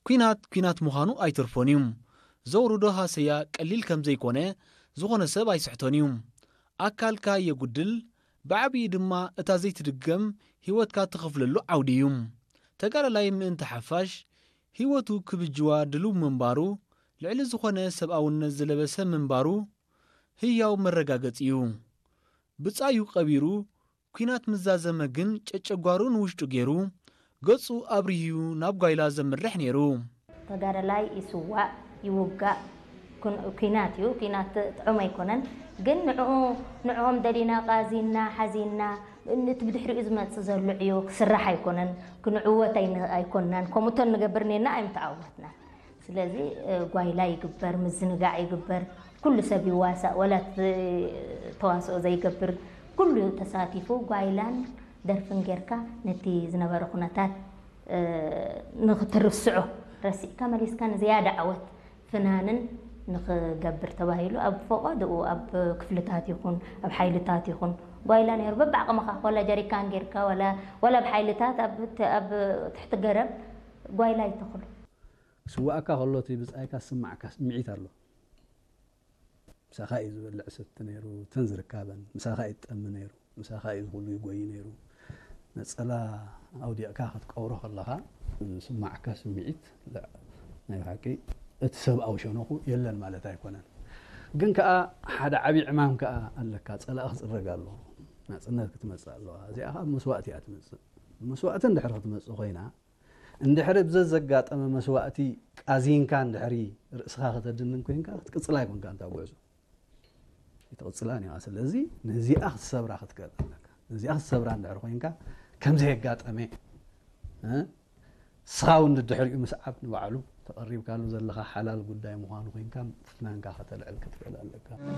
ኲናት ኲናት ምዃኑ ኣይተርፎን እዩ። ዘውርዶ ሃሰያ ቀሊል ከም ዘይኮነ ዝኾነ ሰብ ኣይስሕቶን እዩ። ኣካልካ የጉድል፣ ብዓብዪ ድማ እታ ዘይትድገም ህይወትካ ትኸፍለሉ ዓውዲ እዩ። ተጋዳላይ ምእንቲ ሓፋሽ ህይወቱ ክብጅዋ ድልው ምንባሩ፣ ልዕሊ ዝኾነ ሰብኣውነት ዝለበሰ ምንባሩ ህያው መረጋገጺ እዩ። ብጻዩ ቀቢሩ፣ ኲናት ምስ ዛዘመ ግን ጨጨጓሩ ንውሽጡ ገይሩ፣ ገጹ ኣብሪሁ ናብ ጓይላ ዘምርሕ ነይሩ። ተጋዳላይ ይስዋእ ይውጋእ ኩን- ኲናት እዩ። ኲናት ጥዑም ኣይኮነን። ግን ንዕኡ ንዕኦም ደሊና ቃዚና ሓዚና እቲ ብድሕሪኡ ዝመጽእ ዘሎ ዕዮ ክስራሕ ኣይኮነን። ክንዕወት ኣይን- ኣይኮንናን። ከምኡቶ ንገብር ኔና ኣይምተዓወትናን። ስለዚ እ፣ ጓይላ ይግበር፣ ምዝንጋዕ ይግበር፣ ኩሉ ሰብ ይዋሳእ፣ ወላ እቲ ተዋስኦ ዘይገብር ኩሉ ተሳቲፉ ጓይላን ደርፍን ጌርካ ነቲ ዝነበረ ኩነታት እ፣ ንክትርስዖ ረሲዕካ መሊስካ ንዝያዳ ዓወት ፍናንን ንክገብር ተባሂሉ ኣብ ፈቐድኡ ኣብ ክፍልታት ይኹን ኣብ ሓይልታት ይኹን ጓይላ ነይሩ። በብዓቕምኻ ወላ ጀሪካን ጌርካ ወላ ወላ ኣብ ሓይልታት ኣብ ት- ኣብ ትሕቲ ገረብ ጓይላ ይተኽሉ። ስዋእካ ከሎ እቲ ብጻይካ ዝስማዓካ ስምዒት ኣሎ። ምሳኻ እዩ ዝበልዕ ሰቲ ነይሩ፣ ተን ዝርካበን ምሳኻ እዩ ትጠሚ ነይሩ፣ ምሳኻ እዩ ዝኹሉ ይጎይ ነይሩ። ነጸላ ኣውዲቕካ ክትቀብሮ ከለኻ ዝስማዓካ ስምዒት ለ- ናይ ብሓቂ እቲ ሰብኣዊ ሸነኹ የለን ማለት ኣይኮነን። ግን ከኣ ሓደ ዓቢ ዕማም ከኣ ኣለካ፣ ጸላኢ ክጽረግ ኣሎ። ናጽነት ክትመጽእ ኣለዋ። እዚኣ ከኣ መስዋእቲ እያ ትመጽእ። መስዋእቲ እንድሕር ክትመጽእ ኮይና እንድሕሪ ብዘዘጋጠመ መስዋእቲ ቃዚንካ እንድሕሪ ርእስኻ ከተድንን ኮንካ ክትቅጽላ ኣይኮንካ እንታ ጉዕዞ ኣይትቕጽላን ኢኻ። ስለዚ ነዚኣ ክትሰብራ ክትክእል ኣለካ። ነዚኣ ክትሰብራ እንድሕሪ ኮንካ ከምዘየጋጠመ እ፣ ስኻ እውን ድድሕሪኡ ምስዓብ ንባዕሉ ተቐሪብካሉ ዘለኻ ሓላል ጉዳይ ምዃኑ ኮንካ ፍናንካ ከተልዕል ክትክእል ኣለካ።